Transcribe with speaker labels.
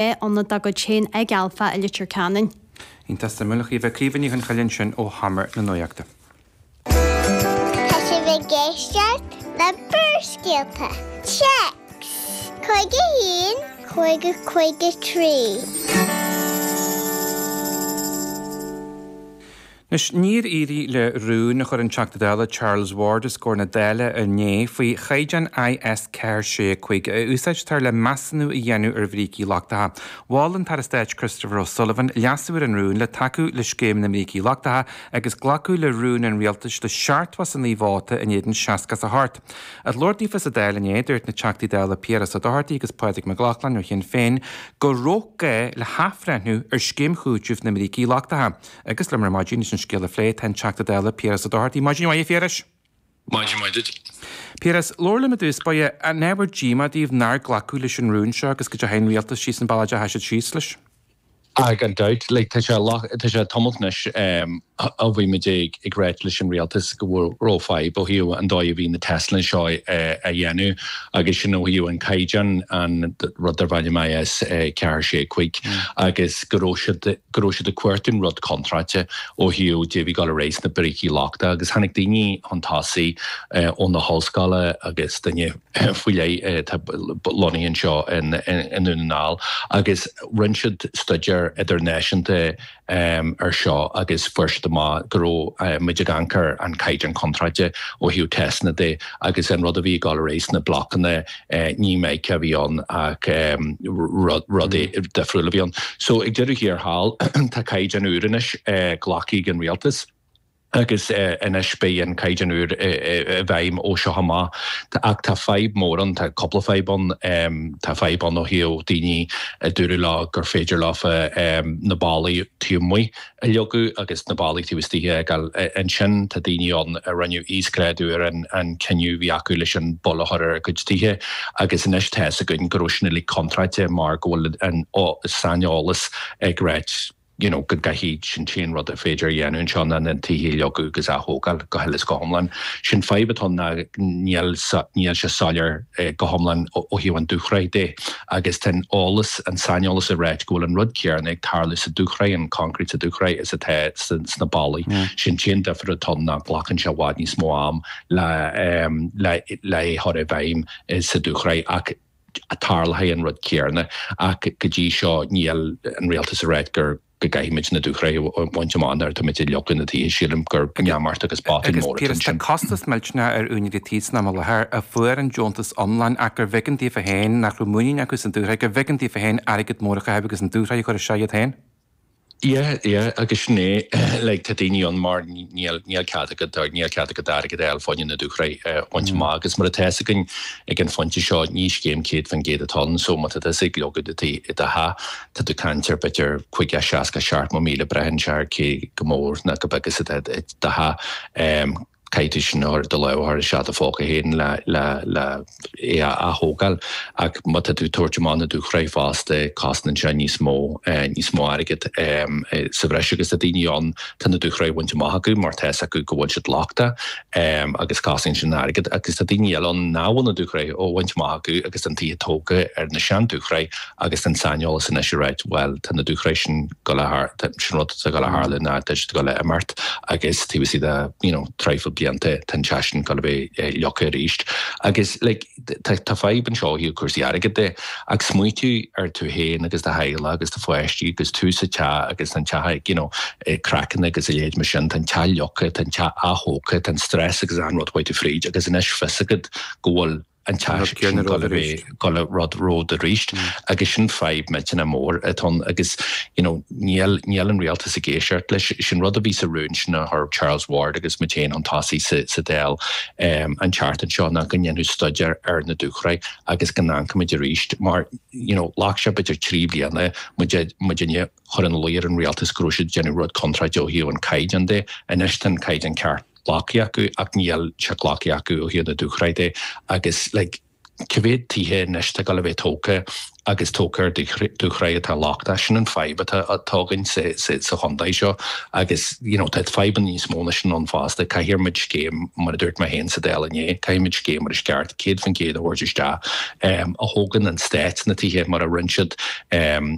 Speaker 1: Ionad dá gcuid féin ag Alpha i Leitir Ceanainn.
Speaker 2: Iontach suimiúil, a Chaoimhe. Caoimhe Ní Chonchoille ansin ó Sheomra na Nuachta.
Speaker 3: Tá sibh ag éisteacht le Barrscéalta. Téacs 51 50 53.
Speaker 2: Anois, níor éirigh le rún a chuir an Teachta Dála Charles Ward os comhair na Dála inné faoi chaighdeán IS 4 6 5 a úsáidtear le measúnú a dhéanamh ar bhrící lochtacha. Mhol an tAire Stáit Christopher O'Sullivan leasú ar an rún le tacú le scéim na mbrící lochtacha agus glacadh le rún an rialtais le 79 vóta in éadan 68. Ag labhairt daofa sa Dáil inné, dúirt na Teachtaí Dála Piaras Ó Dochartaigh agus Pádraig Mac Lochlainn ó Shinn Féin go raibh gá le hathbhreithniú ar scéim chúitimh na mbrící lochtacha. Agus liom ar maidin leis an scéal a phlé tá an Teachta Dála Piaras Ó Dochartaigh. Maidin mhaith a Phiarais.
Speaker 4: Maidin mhaith duit.
Speaker 2: Piaras, labhair liom i dtús báire, an ábhar díomá daoibh nár glacadh leis an rún seo agus go dteachaigh an rialtas síos an bealach a dteachaigh siad síos leis?
Speaker 4: Ah, gan dabht. Like, tá sé, tá sé tamalt anois ó bhí muid ag ag ráit leis an rialtas go raibh fadhb ó thaobh an dóigh a bhí na teisteanna seo á dhéanamh agus sin ó thaobh an caighdeán, an rud darb ainm IS 4 6 5 agus go raibh siad go raibh siad ag cuartú an rud contráilte ó thaobh dé bhí dul ar aghaidh sna brící lochtacha agus tháinig daoine chun tosaigh ó na hollscoile agus duine faoi leith atá lonnaithe anseo i nDún na nGall agus rinne siad staidéar idirnáisiúnta ar seo agus fuair siad amach go raibh muid ag amharc ar an caighdeán contráilte ó thaobh teisteanna de agus an rud a bhí ag dul ar aghaidh sna blocanna Ní mica a bhí ann ach rud difriúil a bhí ann. So ag deireadh thiar thall tá caighdeán úr anois glactha ag an rialtas agus anois beidh an caighdeán úr i bhfeidhm ó seo amach. Ach tá fadhb mór ann, tá cúpla fadhb ann. Tá fadhb ann ó thaobh daoine a dúradh leo gur féidir leofa na ballaí taobh amuigh a leagadh agus na ballaí taobh istigh a fhágáil. Ansin tá daoine ann a rinne íosghrádú ar an cinneadh a bhí acu leis an bpoll a chur ar a gcuid tithe agus anois tá fhios againn go raibh sin uilig contráilte mar go bhfuil an saineolas ag ráit you know go gcaithfidh sin t-aon rud a féidir a dhéanamh anseo ná na tithe a leagadh agus a ath-thógáil go huile is go hiomlán. Sin fadhb atá ann ná níl níl sé soiléir go hiomlán ó thaobh an dúshraith de. Agus tá an eolas, an saineolas ag ráit go bhfuil an rud céarna ag tarlú sa dúshraith, an concrete sa dúshraith, is atá sna ballaí. Sin t-aon difear atá ann ná glacann sé i bhfad níos mó am le le le é chur i bhfeidhm sa dúshraith ach tarlóidh an rud céarna. Ach go dtí seo níl an rialtas ag ráit gur go gcaithfimid na dúshraith a bhaint amach nuair atá muid ag leagadh na tithe. Sílim gur neamart agus botún
Speaker 2: Agus
Speaker 4: mór atá
Speaker 2: Piaras, tá
Speaker 4: ansin.
Speaker 2: costas millteanach ar úinéirí tí san am i láthair a fuair an deontas iomlán ach gurbh éigean daofa féin, nach raibh muinín acu sa dúshraith, gurbh éigean daofa féin airgead mór a chaitheamh agus an dúshraith a chur isteach iad féin.
Speaker 4: Yeah, yeah, agus sin é, like, tá daoine ann mar níl, níl cead agat, níl cead agat airgead a fháil fá choinne na dúshraith a bhaint amach agus mar atá fhios againn ag an phointe seo ní scéim 100% atá ann so má tá tusa ag leagadh do tí, do theach, Tá tú ag caint ar b'fhéidir 50, 60, 70 míle braitheann sé ar cé chomh mór nó chomh beag is atá do theach. Caithfidh tú sin a chur do lámh a chur isteach do phóca féin le le le é a ath-thógáil. Ach má tá tú ag tabhairt amach na dúshraith fosta cosnaíonn sé níos mó níos mó airgead sa bhreis agus tá daoine ann tá na dúshraith bainte amach acu mar tá fhios acu go bhfuil siad lochtach agus cosnaíonn sin airgead agus tá daoine eile ann nach bhfuil na dúshraith á bhaint amach acu agus tá an tithe tógtha ar na sean-dúshraith Agus tá an saineolas anois ag ráit, bhuel, tá na dúshraith sin ag dul a, sin rud atá ag dul a tharlú ná tá siad ag dul a imeacht agus taobh istigh de, you know, traidhfil blianta, tá an teach sin ag dul a bheith leagtha arís. Agus, like, tá, tá fadhb anseo ó thaobh cúrsaí airgid de, ach smaoitiú ar tú féin agus do theaghlach agus do pháistí agus tú sa teach agus tá an teach ag, you know, craiceanna agus a leithéid mar sin, tá an teach leagtha, tá an teach ath-thógtha, tá an stress agus achan rud chuaigh tú fríd agus anois fios agat go bhfuil, an teach sin ag dul a bheith dul a rud ród arís agus sin fadhb millteanach mór atá ann agus you know níl níl an rialtas ag éisteacht leis. Sin rud a bhí sa rún sin a chuir Charles Ward agus muid féin chun tosaigh sa sa Dáil an tseachtain seo ná go ndéanfadh staidéar ar na dúshraith agus go n-amharcfaimid arís mar you know ghlac sé b'fhéidir 3 bliana muid muidinne chur ina luí ar an rialtas go raibh siad ag déanamh rud contráilte ó thaobh an caighdeán de. Anois tá an caighdeán ceart glactha acu ach níl sé glactha acu ó thaobh na dúshraith de agus like. Cá mhéad tithe anois atá ag dul a bheith tógtha agus tógtha ar dúshraith atá lochtach? Sin an fadhb atá againn sa chontae seo agus you know tá fadhbanna níos mó ná sin ann fosta. Caithfidh muid scéim, mar a dúirt mé féin sa Dáil inné, caithfidh muid scéim mar is ceart, 100% a thabhairt isteach, a thógann an stát na tithe mar a rinne siad.